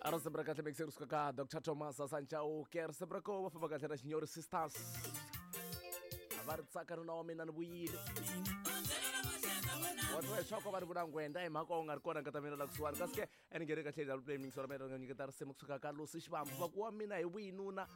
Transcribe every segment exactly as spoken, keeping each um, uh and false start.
A ri risimu ra kahle mixer kusuka ka Doctor Thomas Sanchauke, risimu ra koho va famba kahle na Xinyori Sisters. A va ri tsaka nuna wa mina ni vuyile. Wa twa leswaku va ri vula ngwenda hi mhaka u nga ri kona nkata mina la kusuhani, kasi ke a ni nghene kahle la play mixer ra mina ri nga nyiketa risimu kusuka ka Lucy Xivambu va ku wa mina hi vuyinuna.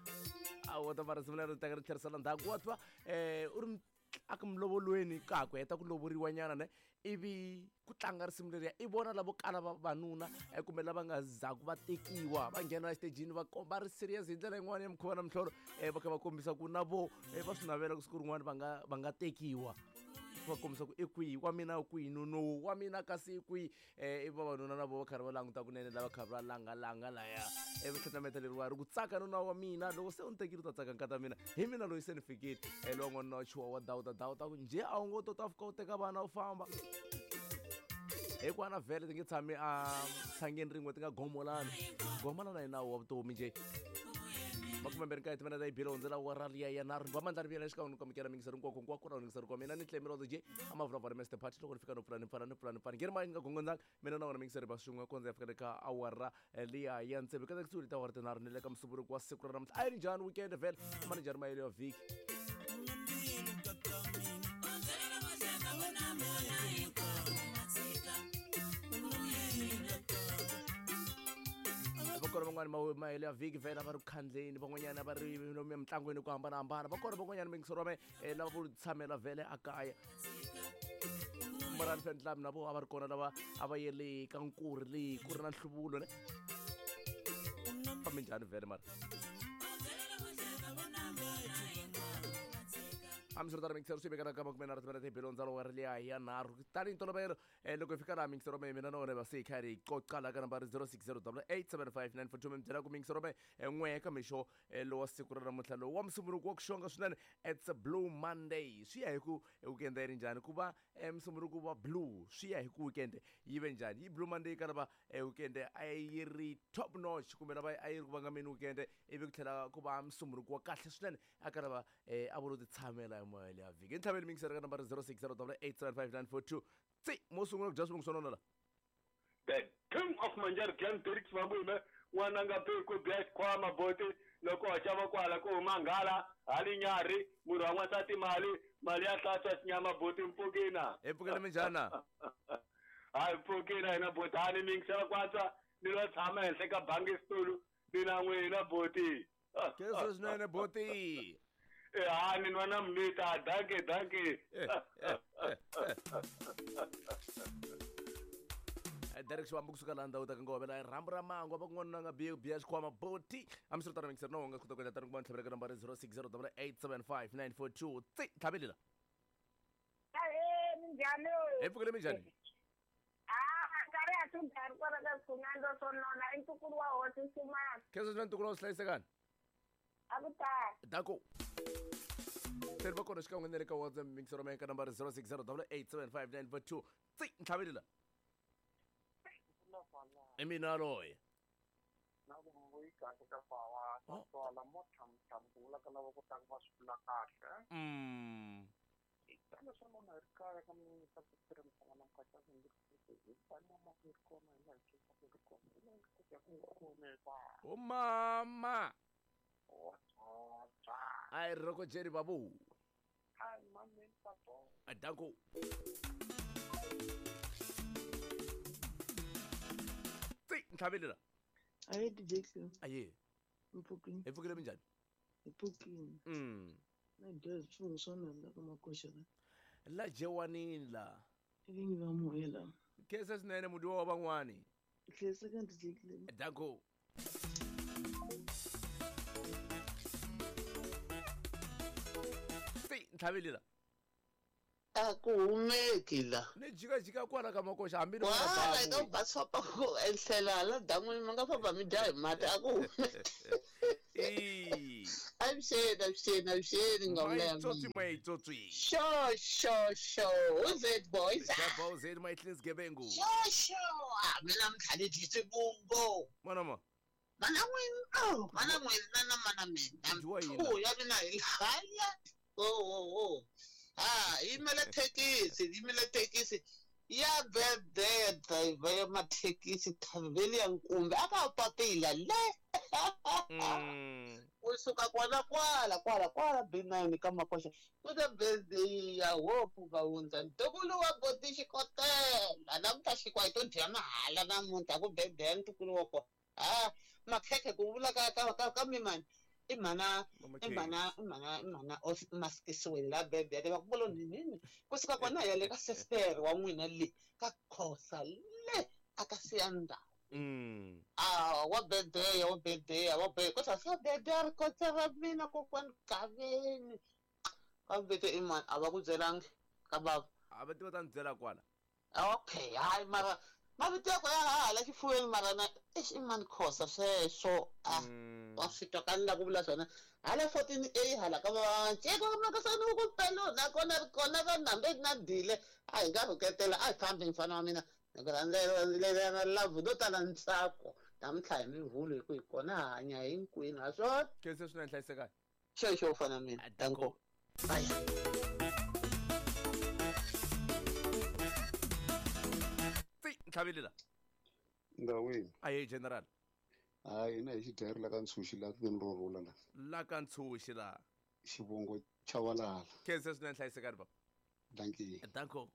A wa ta va risimu leri teka ri tlherisela ndzhaku wa twa eh u ri a ku mulovolweni ka ku heta ku lovoriwa nyana ne ivi ku tlanga risimu leriya i vona lavo kala vavanuna kumbe lava nga zaku va tekiwa va nghena exitejini va komba ri serious hi ndlela yin'wana ya mukhuva na mihlolo va kha va kombisa ku na vo va swi navela ku siku rin'wana va nga va nga tekiwa va kombisa ku i kwihi wa mina kwihi nono wa mina kasi i kwihi i vavanuna na vo va karhi va languta kunene lava kha va langalanga laya ivi tlhatlhameta leriwa ri ku tsaka nuna wa mina loko se u ni tekile u ta tsaka nkata mina hi mina loyi se ni fikile lowa n'wanuna wa chuwa wa dawuta dawuta ku njhe a wu ngo to ta fika u teka vana u famba hikuva vhele ti nge tshami a tshangeni rin'we ti nga gomolani gomolana hi nawu wa vutomi njhe makumembirhi nkaye timena ta yibile hundzela wa raliya ya nharhu va mandla riviyela xikan'we ni ku amukela mingiseri nkwako nkwako na mingiseri kwa mina ni tlemirodo je a mavulavula Mister Party loko ni fika no pfula ni pfala ni pfula ni pfala ngeri mali ni nga gongondzanga mina na wona mingiseri va swin'we kondza ya fika le ka awara liya ya ntsevu ka kusuhi ta awara tinharhu ni le ka musumbunuko wa siku ra namuntlha a yi ri njhani weekend vhele ma ni njhani mahelo ya vhiki va kona van'wani mahelo ya vhiki vhela va ri ku khandleni van'wanyana va ri lomu emitlangwini ku hambanahambana va kona van'wanyana mingisero wa me lava vo tshamela vhele a kaya Morani Fan Club na vo a va ri kona lava a va yele ka nkuri leyi ku ri na nhluvulo ne fambe njhani vhele mara hambiswiritano mingisero swi vekana ka makume nharhu timena tibilo ndzalo wa ri liya ya nharhu tanihi ntolovelo loko hi fika laha mingisero me mina na wona va se hi kha hi qoqa laha ka nambara zero six zero double eight seven five nine four two mi byela ku mingisero me n'we ka mixo lowa siku ra namuntlha lowu wa musumbunuko wa ku xonga swinene it's a blue Monday swi ya hi ku weekend yi ri njhani ku va musumbunuko wa blue swi ya hi ku weekend yi ve njhani yi blue Monday ka lava weekend a yi ri top notch kumbe lava a yi ri ku vangameni weekend ivi ku tlhela ku va musumbunuko wa kahle swinene a ka lava a vo lo ti tshamela moya ya vhiki ntlhaveni mingisero ka nambara zero six zero double eight seven five nine four two tsi mo sungula ku dya swivungu swa nona la the king of Manjari Glen Derek Mabume n'wana nga ku bya xikhwama boti loko wa xava kwala ku huma nghala hali nyarhi munhu wa n'wansati mali mali ya hlantswa xinyama boti mpfukina hi pfukile minjhana hayi mpfukina hina boti hani mingisela kwatswa ni lo tshama henhla ka bangi xitulu ni na n'wina boti keso swinene boti ha ni nwa na mnita danke danke Derek Xivambu kusuka laha ndhawu ta ka Ngovela rhambu ra mangwa va kun'wana nga biya biya xikhwama boti hambiswiritano mingisero na wona nga kota ku endla tani kuma ntlhavela ka nambara zero six zero double eight seven five nine four two tsi tlhavelela ahee minjhani hi pfukile minjhani ah nkarhi a swi dari kwala ka swikhunando swo nona i ntukulu wa hosi Nsumana khensa swinene ntukulu wa swi hlayisekani a ku tani dako tlhela va kona xikan'we na le ka WhatsApp mingisero me ka nambara zero six zero double eight seven five nine four two tsi ntlhavelela i mina loyi na ku vuyi kahle ka bawa naswona mo thamuthamula ka lava ku tlanga va swi vula kahle mm tana swa nona hi ri kaya ka mina ku tirhisana na mukata hi mama ri kona hi laha hi ri kona hi laha hi ku kona o mama ai roko jeri babu ai mame pato adanko tsi ntlhavelela aye D J Cleo aye mpfukini hi pfukile minjhani hi pfukini mm na dya swivungu swa nona ka makoxa la la jewanini la vingi va moya la khensa swinene mudiwa wa van'wani hlayiseka D J Cleo danko tsi ntlhavelela a ku humeki la ni jikajika kwala ka makoxa hambi ni wala ka ba famba ku enhlela la dan'wini mi nga famba mi dya hi mati a ku humeki avuxeni avuxeni avuxeni nga maitsotsi maitsotsi sho sho sho who's it boys boys it my cleans gebengu sho sho a mina mkhali swivungu mana ma mana n'wini oh mana n'wini na na mana mina Dyiwa ya mina hi hanya oh oh oh ah yimela thekisi yimela thekisi Ya birthday ya driver ya mathekisi thaveli ya nkumbi a ka papila le. Mm. Kusuka kwala kwala kwala kwala B nine ka Makoxa ku ta birthday ya Hope Vahundza ntukulu wa boti xikotela namuntlha xikwa hi to dya mahala namuntlha ku birthday ya ntukulu wa kona a makhekhe ku vula ka ka ka ka mimani i mhana i mhana i mhana i mhana maskisiweni la birthday va ku vula nini kusuka kona ya le ka sister wa n'wina le ka Khosa le a ka Siyanda. Mm. Ah, wa birthday wa birthday wa birthday kota sa birthday ri kota ra mina kokwani Gaveni ka birthday i mani a va ku byelangi ka bava a va tiva ta ni byela kwala. Okay, hayi mara mavito ya ya hala xifuweni mara na eish i mani Khosa sweswo a wa swi twa ka ni la ku vula swona hala fourteen A hala ka vanceka makasani ku pelo nakona ri kona va nambe na dile a hi nga rhuketela a hi fambi mfana wa mina love do tala ntsako namuntlha hi mivhulo hi ku hi kona hanya hinkwenu ha swona khensa swinene hlayisekani xexo u fana mina danko bye. Ntlhaveli la ndawini aye general hayi na hi xidyari la ka Ntshuxi la tikweni ro rhula la la ka Ntshuxi la xivongo Chavalala khensa swinene hlayisekani baba dankie danko.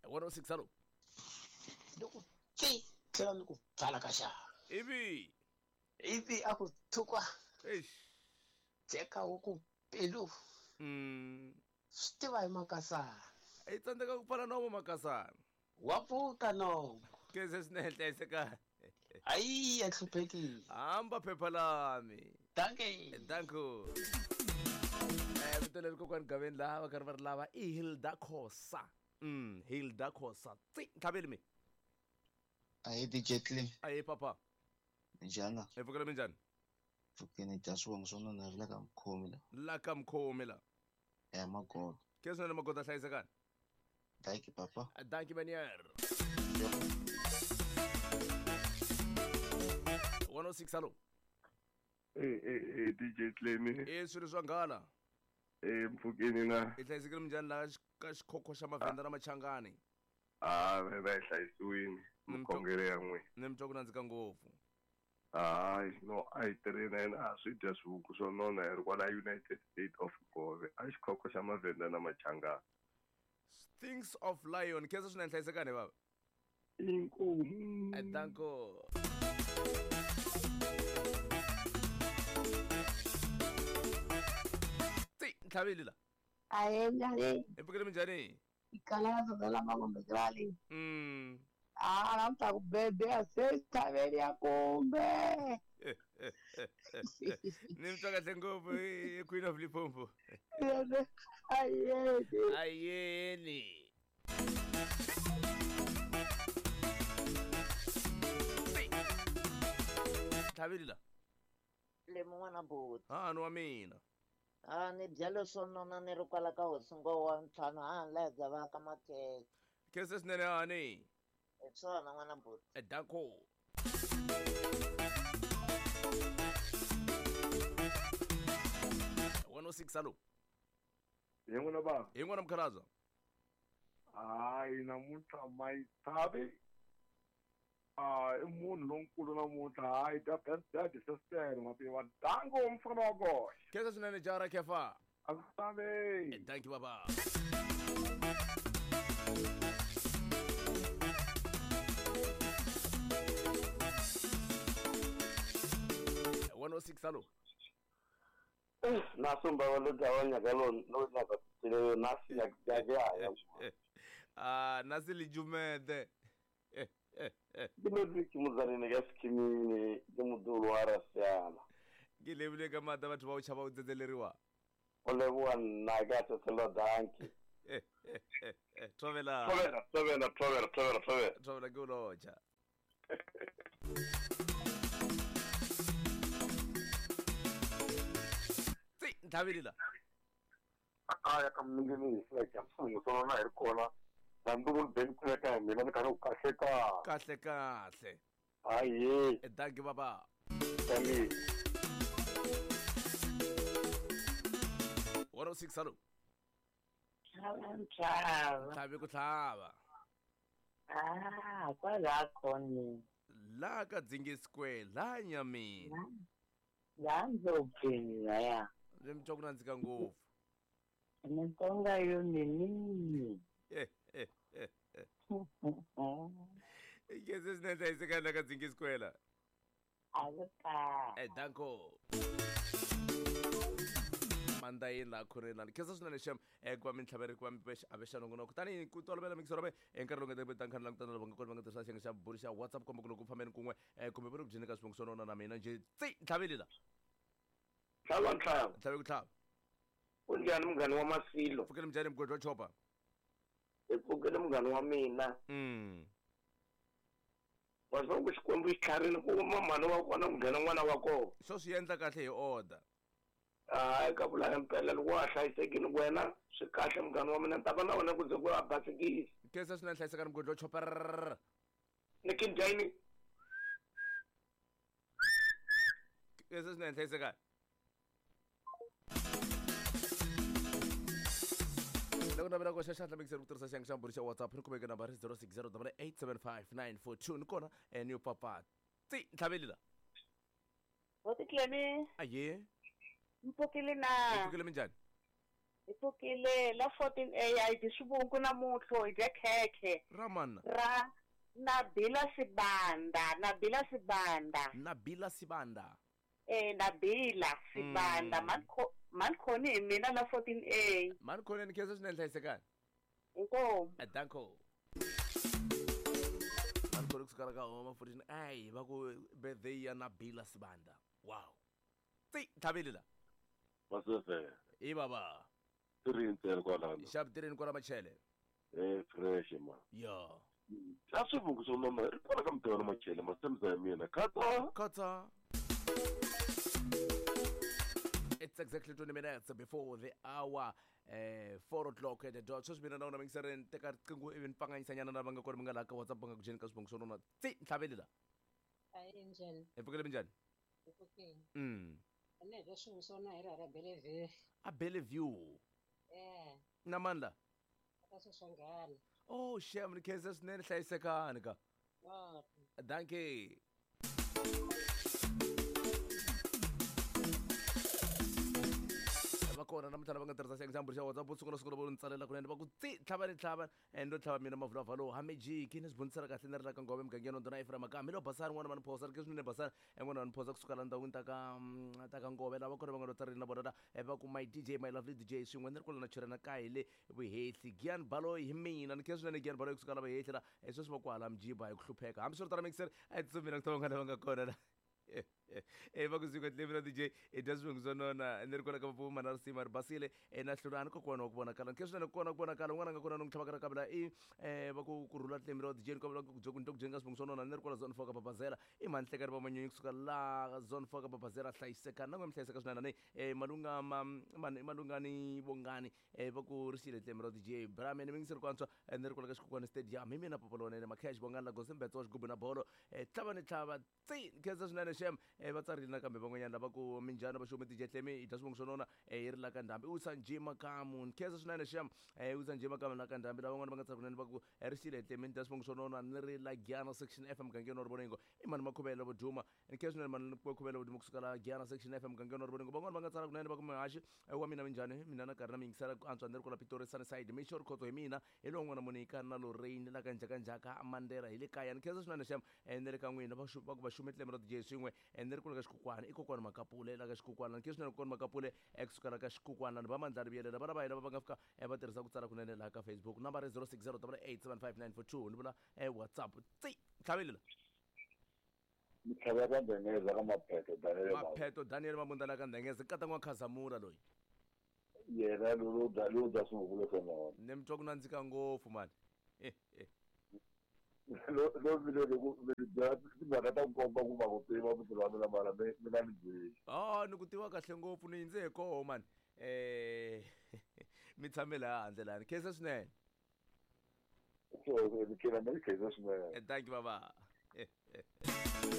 one oh six alo loko tsi tlhela ni ku pfala ka xava ivi ivi a ku thukwa eish jeka wu ku pilu mm swi tiva hi Makasana i tsandzeka ku pfala nomo Makasana wa pfuka nomo khensa swinene hlayisekani ayi ya hluphekile hamba phepha lami dankie danko. Eh vito leri kokwani Gaveni laha va karhi va ri lava i Hilda Khosa. Mm Hilda Khosa tsi ntlhaveli mi ayi D J Clem ayi papa njhani hi pfukela minjhani pfukeni dya swivongo swa nona ri la ka Mkhomi la la ka Mkhomi la ya Magoda khensa swinene Magoda hlayisekani dankie papa dankie manier one oh six alo eh eh eh D J Clem eh swilo swa nghala eh mpfukeni na i hlayisekile minjhani la ka xikhokho xa Mavhenda na Machangani ah va va hlayisiwini mukhongeri ya n'wina ni mi twa ku nandzika ngopfu hayi no a hi tirheni yena a swi dya swihuku swo nona hi ri kwala United States of Gove a xikhokho xa Mavhenda na Machangani Things of Lion khensa swinene hlayisekani baba inkomu danko. Tsi ntlhaveli la aye njhani hi pfukele minjhani ikala la mangombe krali mm ah namuntlha ku birthday ya se thaveli ya kumbe ni mi twa kahle ngopfu Queen of Limpopo ayeni ayeni ntlhaveli la le mun'wana buti ha ni wa mina a ni byale swo nona ni ri kwala ka hosingo wa ntlhanu a ni la bya va ka makhekhe khensa swinene hani hi swona n'wana buti danko. one oh six alo hi n'wina bava hi n'wana mukhalabya hayi namuntlha mayithavi a i munhu lonkulu namuntlha hayi dya dya sister mativa danko mfana wa koxe khensa swinene jara khefa a ku tave thank you baba. one oh six alo na sumba wa lo dzawa nyaka lo lo nyaka tsile na si nyaka ya ah na si lijumede ke lo ke muzanene ka sikimini ke mudulu wa rasiana ke lebile ka mata batho ba o tšhaba o tsetseleriwa o leboa nna ka tsetselo danki thobela thobela thobela thobela thobela thobela thobela ke o lotšha tsi ntlhaveli la kaya ka mundini hi ka mfungo swa na hi ri kona na nduvulu beni kuleka hi mina ni karhi ku kahle kahle kahle kahle hayi danki baba. Tani. one oh six hello. Tlhava. Tlhabe ku tlhava. Ah, kwala khona. La ka Dzingi Square, la Nyamini. La Ndlopfini laya. Ni mi twa ku nandzika ngopfu. Mintonga yo mini. Eh eh eh. Ikeze swinene hlayisekani la ka Dzingi Square la. Aluka. Eh danko. Mandayini laha khoreni lani khensa swinene xem eh ku va mi ntlhaveri ku va mi avexa nongonoko tanihi ku tolovela mikisoro me nkarhi lowu nga ta ta nkhani langutana lava nga kona va nga tirhisa xiyenge xa buri xa WhatsApp komba ku loko ku fambeni kun'we eh kumbe va ri ku dyeni ka swivongo swo nona na mina njhe tsi ntlhaveli la Tlhava ntlhava. Ntlhavi ku tlhava. Unjhani munghana wa Masilo? Pfukele minjhani mugodi wa chopa? Hi pfukele munghana wa mina. Mm. Wa swa ku Xikwembu xi tlharile ku uma mhani wa kona ku nghena n'wana wa kona. Swo swi endla kahle hi order. Hayi ka vula impela loko wa ha hlayisekile wena swi kahle munghana wa mina ni ta va na wena ku ze ku a basikisa. Khensa swinene hlayisekani mugodi wa chopa. Ni kinjani? Khensa swinene hlayisekani. Loko navela ku xaxa xandla mixer ku tirhisa xiyenge xa mbhuri xa WhatsApp ni kumeke nambara zero six zero double eight seven five nine four two ni kona ni yo papa tsi ntlhaveli la. Boti Clemi. Aye. Mpfukile na. Mpfukile minjhani? Hi pfukile la fourteen A I dyi swivungu namuntlha hi dya khekhe. Ramana. Ra Nabila Sibanda, Nabila Sibanda. Nabila Sibanda. Eh Nabila Sibanda mm. Manko Mankhoni hi mina la fourteen A. Mankhoni ni khensa swinene hlayisekani. Inkomu. Danko. Mankhoni kusuka ka homa fourteen A va ku birthday ya Nabila Sibanda. Wow. Tsi ntlhaveli la. Masese. I baba. Tirhi kwalano. Xavi tirheni kwala Machele. Eh fresh ma. Yo. A swivungu swo nona ri kwala ka mutirhi wa Machele masemza ya mina. Khatsa. Khatsa. It's exactly twenty minutes before the hour, uh, four o'clock at the dot. Sweswi mina na wona mingiseri ni teka riqingho ivi ni pfanganyisanyana na lava nga kona mi nga laha ka WhatsApp va nga ku dyeni ka swivongo swo nona. Tsi ntlhaveli la. Ayi njhani? Hi pfukele minjhani? Hi pfukile. Mm. Ene dya swivungu swo nona hi ra ra Bellevue. A Bellevue. Eh. Na mandla. Ka Soshanghana. Oh, shem ni khensa swinene hlayisekani ka. Oh. Dankie. Va kona namuntlha lava nga tirhisa xiyenge xa mbhuri xa WhatsApp vo sungula sungula vo ni tsalela kunene va ku tsi tlhava ni tlhava endo tlhava mina mavulavula lowu hamejiki ni swi bunisela kahle ni ri la ka Ngove mugangeni wa Ndhuna Ephraim Makamba hi lo Basani n'wana va ni phosa ri ke swinene Basani n'wana va ni phosa kusuka la ndhawini ta ka ta ka Ngove lava kona va nga lo tsarile na vona la va ku my D J my lovely D J swin'we ni ri kwala na chirana ka hi le Vuhehli Gian Baloyi hi mina ni khensa swinene Gian Baloyi kusuka la Vuhehli la sweswi va ku hala Mjiba hi ku hlupheka hambiswiritano mixer a hi tsutsumi na ku ta vanghana va nga kona la. Eh va ku siku tlevela D J e dya swivongo swo nona ni ri kona ka vapfuma na risima ri basile e na hlulani kokwana wa ku vonakala ni khensa swinene kokwana wa ku vonakala un'wana a nga kona ni n'wi tlhavaka ra kavela i eh va ku ku rhula tlemi ra D J ni kombela ku ku ku dyeni ka swivongo swo nona ni ri kwala zone four ka Babazela i mhani hlekani va manyunyu kusuka la zone four ka Babazela hlayisekani na n'we mi hlayiseka swinene ni eh malunga ma mani malungani vongani eh va ku ri xile tlemi ra D J Brahman mi ngiseri ku antswa ni ri kwala ka Xikhukhwana Stadium hi mina Papa Lonene Makhesh Bongani la Gosi Mbetso wa xigubu na bolo eh tlhava ni tlhava tsi khensa swinene xem eh va tsarile nakambe van'wanyana lava ku minjhani va xume D J Tlemi hi dya swivongo swo nona eh hi ri la ka Ndhambi u Sanji Makamu khensa swinene xem eh u Sanji Makamu la ka Ndhambi lava van'wana va nga tsala kunene va ku ri xile Tlemi ni dya swivongo swo nona ni ri la Giyana Section F mugangeni wa Rivoningo i mani Makhuvela vo duma ni khensa swinene mani Makhuvela vo duma kusuka la Giyana Section F mugangeni wa Rivoningo van'wana va nga tsala kunene va ku mihaxi wa mina minjhani mina na karhi na mi yingisela ku antswa ni ri kwala Pitori Sunnyside Mixo Rikhotso hi mina hi lowu n'wana Monica na Lorraine la ka Njhakanjhaka Mandela hi le kaya ni khensa swinene xem ni ri ka n'wina va ku va xume Tlemi ra D J swin'we ni ri kula ka Xikhukhwana i kokwana Makapule la ka Xikhukhwana ni khensa swinene kokwana Makapule ekusuka la ka Xikhukhwana ni va Mandlari Vuyelela vana va hina va va nga fika va tirhisa ku tsala kunene laha ka Facebook nambara zero six zero double eight seven five nine four two ni vula WhatsApp tsi ntlhaveli la. Ntlhava ka Ndhengeza ka Mapheto Daniel Mapheto Daniel Mabunda la ka Ndhengeza nkata n'wa Khazamula loyi yena lowu dya lowu dya swivungu swo nona ni mi twa ku nandzika ngopfu mani. Lo lo mi lo ku mi byela timhaka ta nkomba ku va ku tiva mutirhi wa mina mara mi mi nga ni byeli. Oh ni ku tiva kahle ngopfu ni yindze hi koho mani eh mi tshame laha handle lani khensa swinene. So mi khensa swinene. Thank you baba.